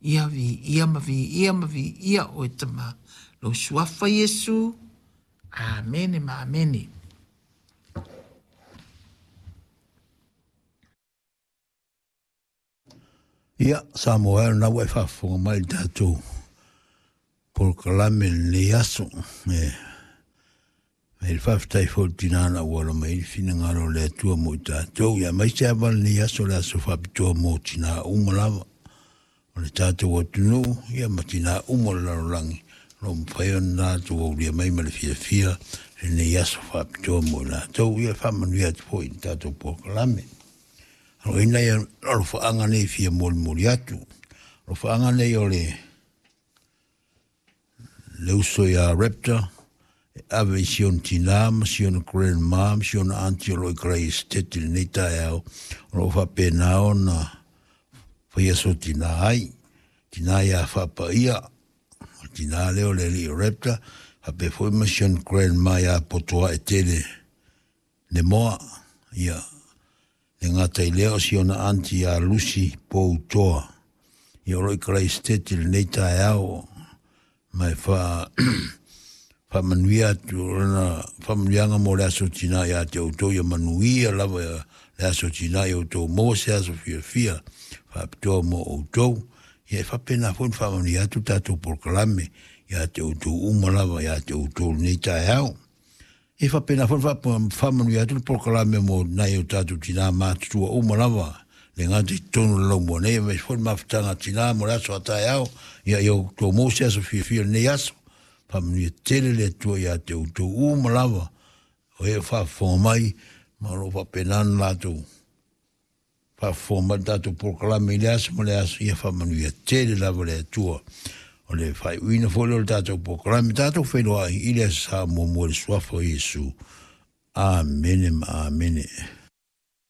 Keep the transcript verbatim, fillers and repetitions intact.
Ia viia ma viia ma viia oe Tama, lou suafa Iesu. Amene ma amene. Ia, Samoa e o lena ua e faafofoga mai i le tatou polokalame i lenei aso. E fai le faafetai foi i le tina na auala mai ai le finagalo o le Atua mo i tatou. Ia aemaise lava lenei aso, le aso faapitoa mo tina uma lava o le tatou atunuu, ia ma tina uma o le lalolagi, o lo o mafai ona latou aulia mai ma le fiafia lenei aso faapitoa mo i latou. Ia faamanuia atu foi i le tatou polokalame. O i nai alofaaga nei fia molimoli atu. Alofaaga nei o le le uso ia Raptor, e ave i si ona tina ma si ona grandma ma si ona auntie o lo o i Karaiesetete i lenei taeao, o lo o faapena ona faia so tina ai. Tina ia faapaia, o le tina lea o le alii o Raptor, faapea foi ma si ona grandma ia Potoae Tele Lemoa. Ia, le gata i lea o si ona auntie ia Lucy Poutoa. Ia o lo o i Karaiesetete i lenei taeao, ma e faa faamanuia atu lana faamanuiaga mo le aso tina ia te outou, ia manuia lava le aso tina ia outou, maua se aso fiafia faapitoa mo outou. Ia e faapena foi ona faamanuia atu tatou polokalame ia te outou uma lava ia te outou lenei taeao. E faapena foi ona faamanuia atu le polokalame mo nai o tatou tina matutua uma lava, le gata i totonu o le laumua nei, aemaise foi le mafutaga a tina mo le aso a taeao. Ia ia outou maua se aso fiafia lenei aso. Faamanuia tele le Atua ia te outou uma lava o e faafofoga mai, ma o lo o faapena ona latou faafofoga mai le tatou polokalame i le aso ma le aso. Ia faamanuia tele lava le Atua. O le faaiuina foi lea o le tatou polokalame, tatou feiloai i le Aso Sa muamua i le suafa o Iesu. Amene ma amene.